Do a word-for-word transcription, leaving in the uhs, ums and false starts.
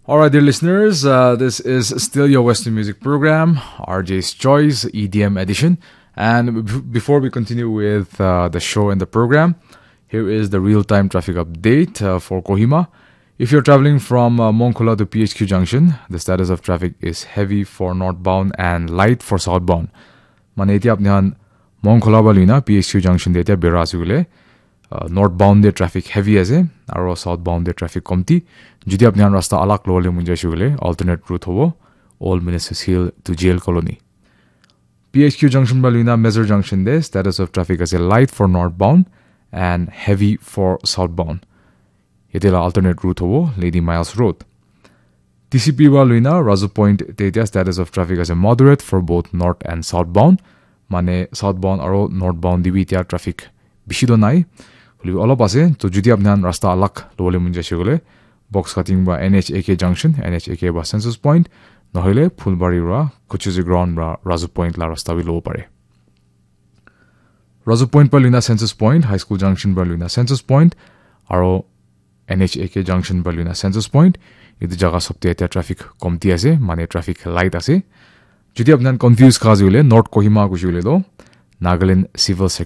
All right, dear listeners, uh, this is still your Western music program, R J's Choice, E D M edition. And b- before we continue with uh, the show and the program, here is the real time traffic update uh, for Kohima. If you're traveling from uh, Mongkhola to P H Q junction, the status of traffic is heavy for northbound and light for southbound. Mane etia apni khan Mongkhola ba luina P H Q junction te etia bera ase koile, uh, northbound te traffic heavy ase, aro southbound te traffic komti. Jodi apni khan rasta alag lobole mon jaise koile, alternate route hobo, Old Ministers Hill to Jail Colony. P H Q junction ba luina Mezur junction te status of traffic ase light for northbound and heavy for southbound. Yate la alternate route hobo Lady Miles Road. T C P ba luina Razu Point te etia status of traffic ase moderate for both north and southbound. Mane southbound aro northbound te bi etia traffic bishi to nai. Hoilebi olop ase. To jodi apni khan rasta alag lobole mon jaise koile, box cutting ba N H A K junction, N H A K ba Census Point, nohoile Phulbari ra Kuchuzi ground ra Razu Point la rasta bi lobo pare. Razu Point pa luina Census Point, High School junction pa luina Census Point, aro N H A K junction pa luina Census Point, etu jaga sob te etia traffic komti ase, mane traffic light ase. Jodi apni khan confuse kha ase koile, North Kohima kuise koile to Nagaland Civil Sector